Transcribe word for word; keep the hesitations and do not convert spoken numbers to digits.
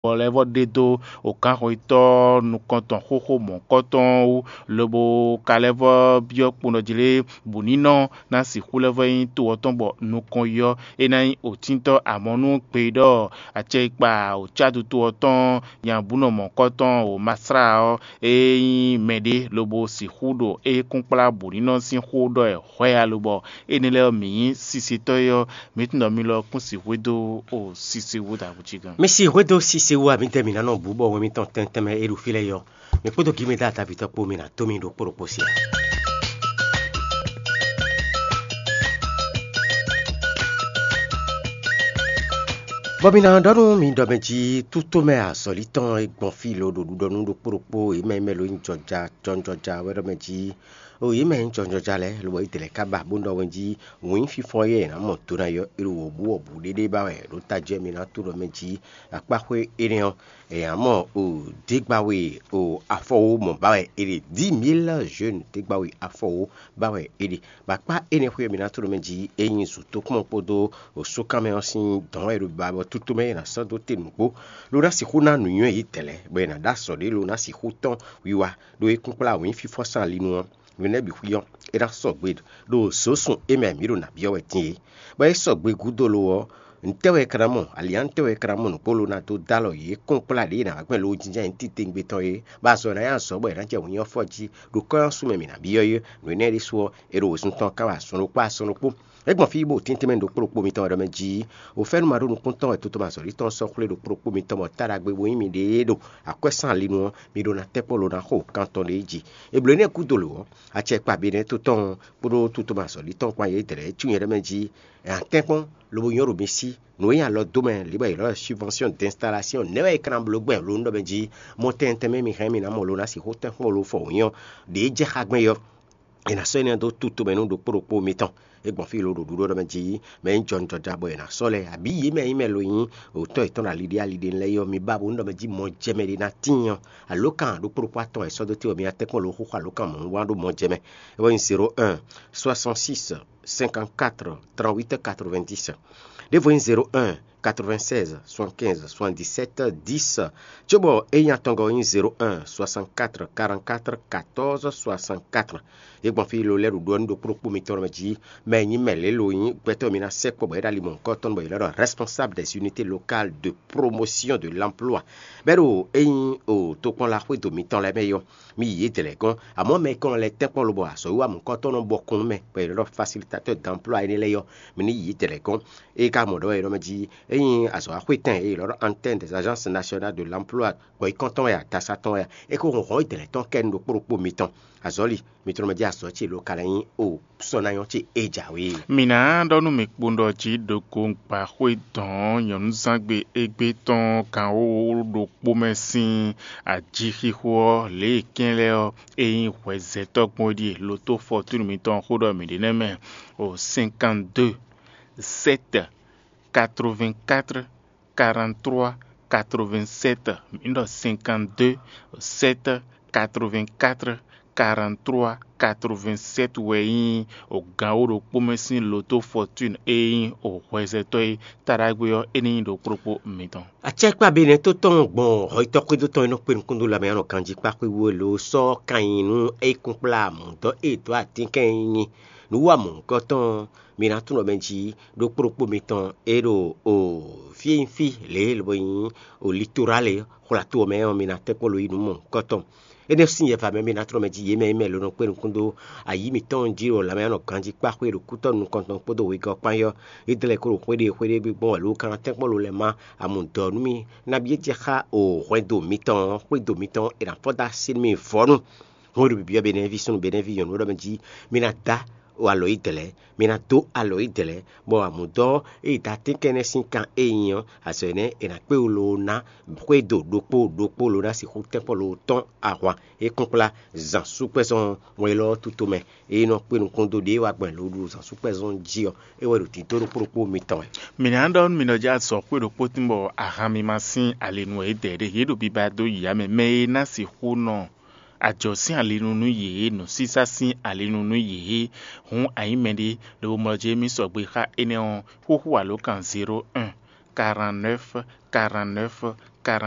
bɔ lɛ́ vɔ ɖe dó wǒkanxɔyítɔ́ nukɔntɔn xóxó mɔ̌hunkɔtɔn ɔ́ wú, lobo ka lɛ́ vɔ byɔ́ kponɔjlé bǔnínɔ ná sixú lɛ́ vɔ nyí to ɔ́ tɔn bɔ nukɔn yi ɔ́, é ná nyí wǒtíntɔ́. Amɔ̌ nú gbe ɖɔ acɛkpa wǒcáduto ɔ́ tɔn nyabúnɔ mɔ̌hunkɔtɔn wǒmasla ɔ́, é nyí mɛɖé lobo sixú ɖo é kúnkplá bǔnínɔ sín xó ɖɔ wɛ hwɛ alo bɔ énɛ́ lɛ́ɛ ɔ́, mǐ nyí sisetɔ́ é ɔ́, mǐ tunwun ɖɔ mi lɔ kún sixú dó o sise wú ɖaxó cí gán. Mi si hwedó sise wú a, mǐdɛɛ mǐ ná nɔ bǔ bɔ wɛn mitɔn tɛntɛn mɛ é ɖo fí lɛ́ɛ yɔ. Mi kpódó gǐ mi dó ata vǐ tɔn kpó mi ná tó mi ɖo kpó ɖokpó sí a. Bɔ mi ná ɖɔ nú mi ɖɔ mɛ jí tútó mɛ azɔ̌lí tɔn e gbɔn fí lo ɖo ɖuɖɔ nú ɖokpó ɖokpó e mɛ mɛ lo nyí jɔja jɔnjɔja wɛ ɖɔ mɛ jí o yě mɛ nyí jɔnjɔja lɛ́ɛ, lobɔ yě dlɛ̌ ká ba bó ɖɔ wɛn jí wǐn fífɔ́n e è nǎ mɔ do ná yɔ é ɖo wǒbú wɔ̌bú ɖéɖé ba wɛ ɖo tají wɛ mi ná tó ɖɔ mɛ jí akpáxwé énɛ́ ɔ́, è nǎ mɔ o dégbáwe o afɔwó mɔ ba wɛ é ɖe, dix mille jeunes dégbáwe afɔwó ba wɛ é ɖe. Bɔ akpá énɛ́ xwé e mi ná tó ɖo mɛ jí é nyí zǔtókpɔ́n kpódó osúkánmɛ ɔ́ sín dɔ̌n wɛ ɖo ba bɔ tútú mɛ è nǎ sɔ́ dó te nǔgbó, ló ná sixú ná nǔnywɛ́ yětɛn lɛ́ɛ, bɔ è nǎ ɖó azɔ̌ ɖé ló ná sixú tɔ́n wiwa ɖó é kúnkplá wǐn fífɔ́n sín ali nu ɔ́, nǔ énɛ́ bǐ xwí ɔ́, é ná sɔgbe ɖo zǒsun é mɛ mǐ ɖo nǎ byɔ́ wɛ din é. Bɔ é sɔgbe gúdo lo ɔ́, ntɛ́ wɛ è ka ná mɔ? Alǐ ɔ́, ntɛ́ wɛ è ka ná mɔ nǔgbó ló ná dó dó alɔ yě kɔn kplá ɖě è nǎ wá gbɛn lowojínjɔ́n ayǐ titewungbe tɔn é, bɔ azɔ̌ ná nyí azɔ̌ bɔ è nǎ jɛ wǔnyí ɔ́ fɔ jí ɖo kɔ́ ɔ́ sú mɛ mǐ ná byɔ́ é. Nǔ énɛ́ ɖésú ɔ́, è ɖo wěsun tɔn ká wɛ azɔn ɖokpó azɔn ɖokpó. É gbɔn fí bó tɛ́ntin mɛ ɖo kpó ɖokpó mitɔn wɛ ɖɔ mɛ jí, wǒ fɛ́nú ma ɖó nukúntɔn wɛ toto ma zɔ̌lítɔn ɔ́ sɔ́ xwlé ɖo kpó ɖokpó mitɔn bɔ tá ɖagbe bo nyí miɖée ɖo akwɛ́ sín ali nu ɔ́, mi ɖó ná tɛ́ kpɔ́n lo ná xo kan tɔn ɖě jí. È blǒ énɛ́ gúdo lo ɔ́, acɛkpa Benɛ́to tɔn ɔ́ kpódó toto ma zɔ̌lítɔn kpán yě dlɛ̌ cí nyɛ ɖɔ mɛ jí, è nǎ tɛ́n kpɔ́n lobo nyɔ́ ɖo mi sí. Nǔ e nyi alɔ dó mɛ lě bɔ è ylɔ́ subvention d'installation nɛ́ wɛ è ka ná bló gbɛn lo un ɖɔ mɛ jí, mɔ tɛntɛn mɛ mi hɛn mi ná mɔ lo ná sixú tɛ́nkpɔ́n lo fɔ wǔnyɔ ɖě jɛ xá gbɛn yɔ. È nǎ sɔ́ énɛ́ dó tutó mɛ nú ɖokpó ɖokpó mitɔn. É gbɔn fí lo ɖo ɖuɖó ɖɔ mɛ jí, mɛ nyí jɔnjɔja bɔ è nǎ sɔ́ lɛ́ɛ, abǐ yě mɛ nyí mɛ lo nyí òtɔ́ yětɔn ɖo ali ɖé ali ɖé lɛ́ɛ yɔ, mi ba bó nú ɖɔ mɛ jí mɔ jɛ mɛ ɖé ná tíin ɔ́, alǒkan ɖokpó ɖokpó atɔn è sɔ́ dó te ɔ́, mi ná tɛ́nkpɔ́n lo xóxó alǒkan mɔ̌ wá ɖó mɔ jɛ mɛ. É wɛ nyí zéro un, soixante-six, cinquante-quatre, trente-huit, quatre-vingt-dix. Ɖěvo nyí zéro un, quatre-vingt-seize, soixante-quinze, soixante-dix-sept, dix. Cóbɔ é nyí atɔngɔ́ nyí zéro un, soixante-quatre, quarante-quatre, quatorze, soixante-quatre. Yě gbɔn fí lo lɛ́ɛ ɖo ɖɔ nú ɖokpó ɖokpó mitɔn mɛ jí, mɛ e nyí mɛ lě lo nyí gbɛtɔ́ e mi ná sɛkpɔ́ bɔ é ɖo ali mɔ̌hunkɔtɔn bɔ è lɛ́ ɖɔ responsable des unités locales de promotion de l'emploi. Bɛ́ ɖo é nyí o tokpɔnla xwédo mitɔn lɛ́ɛ mɛ yɔ, mi yi yědɛɛ lɛ́ɛ gɔ́n. Amɔ̌ mɛ e kɔn lɛ́ tɛ́nkpɔ́n lobɔ azɔ̌wiwa mɔ̌hunkɔtɔn nɔ bɔ kún mɛ, bɔ è nɔ ɖɔ facilitateur d'emploi énɛ́ lɛ́ɛ yɔ, mi ní yi yědɛɛ lɛ́ɛ gɔ́n. É ka mɔ ɖɔ wɛ è nɔ mɛ jí é nyí azɔ̌waxwétɛn e è nɔ ɖɔ antenne des agences nationales de l'emploi, gbɔ̌yíkɔntɔn wɛ a, dasatɔn wɛ a, é ko hɔn hɔn yědɛɛ lɛ́ɛ tɔn kɛ nú ɖokpó ɖokpó mitɔn. Azɔ̌li mitɔn mɛ jí azɔ̌ ce lo ka lɛ́ nyí o sɔ́ ná nyɔ́ ce é jǎwe. Mǐ ná ɖɔ nú mǐ kpowun ɖɔ jí ɖokɔ́ngbǎxwé dɔ̌n nyɔ̌nuzángbe égbé tɔn gǎnwówó ɖokpó mɛ sín ajixixo ɔ́, lě e kɛ́n lɛ́ɛ ɔ́, é nyí hwɛzɛtɔ́ gbɔn é ɖíe. Lotó fɔtúnu mitɔn xó ɖɔ mǐ ɖe nɛ́ mɛ o cinquante-deux, sept, quatre-vingt-quatre, quarante-trois, quatre-vingt-sept. Mǐ ɖɔ cinquante-deux, sept, quatre-vingt-quatre, quarante-trois, quatre-vingt-sept wɛ nyí gǎnwó ɖokpó mɛ sín lotó fɔtúnu e nyí hwɛzɛtɔ́ e taɖagbe ɔ́, é ní nyí ɖokpó ɖokpó mitɔn. Acɛkpa Benɛ́to tɔn gbɔn hɔyítɔ́ xwédo tɔn e nɔ kpé nukúndó lanmɛ nɔ ganjí kpá xwé wú e lo sɔ́ kan nyi nú é kún kplá mǔdɔ́ e dó atínkɛn nyí nǔ wa mɔ̌hunkɔtɔn mi ná tunwun ɖɔ mɛ jí ɖokpó ɖokpó mitɔn e ɖo o fí e nyí fí lě e lobo nyí o litorale xwlatu ɔ́ mɛ ɔ́, mi ná tɛ́nkpɔ́n lo yi nǔ mɔ̌hunkɔtɔn. Énɛ́ sín yɛva mɛ mi ná tlɔ́ mɛ jí yě mɛ e mɛ lo nɔ kpé nukún dó ayǐ mitɔn jí ɖo lanmɛ nɔ ganjí kpá xwé ɖo kútɔ́ nukɔntɔn kpódó wegɔ́ kpán yɔ́. Yědɛɛ lɛ́ɛ ko ɖo xwéɖée xwéɖée gbígbɔ́n wɛ ló ka ná tɛ́nkpɔ́n lo lɛ́ɛ má amǔ dɔ̌ nú mì. Nabí é jɛ xá o hwɛndo mitɔn ɔ́, xwédo mitɔn ɔ́, è nǎ fɔ́ dó así nú mì vɔ́ nu. Hɔn ɖo bǐbí ɔ́, Benɛ́ví súnnu Benɛ́ví nyɔ̌nu ɖɔ mɛ jí mi ná dá alɔ yědɛɛ lɛ́ɛ, mi ná dó alɔ yědɛɛ lɛ́ɛ, bɔ amǔdɔ́ e da tɛ́nkɛ́nnɛ́ sín kan e nyí ɔ́, azɔ̌ énɛ́ è nǎ kpé wú loo ná xwédo ɖokpó ɖokpó ló ná sixú tɛ́nkpɔ́n loo tɔ́n ahwan e kplá zǎnsúkpɛ́zɔn wɛn élɔ́ ɔ́ tútomɛ. E nɔ kpé nukún dó ɖě e wá gbɔn lǒ ɖo zǎnsúkpɛ́zɔn jí ɔ́, é wɛ ɖo dǐdó ɖokpó ɖokpó mitɔn wɛ. Mǐ ná ɖɔ nú mi ɖɔ jí azɔ̌ xwé ɖokpó tín bɔ ahan mi ma sín ali nú yědɛɛ ɖé, yě ɖo biba dó yǐyá mɛ. Mɛ e ná sixú nɔ ajɔ̌ sín ali nu nú yě, nǔsísá sín ali nu nú yě, hǔn a nyǐ mɛɖé, lobo mlɔ jí émí sɔgbe xá énɛ́ ɔ́, xúxú alǒkan zéro un, quarante-neuf, quarante-neuf, quarante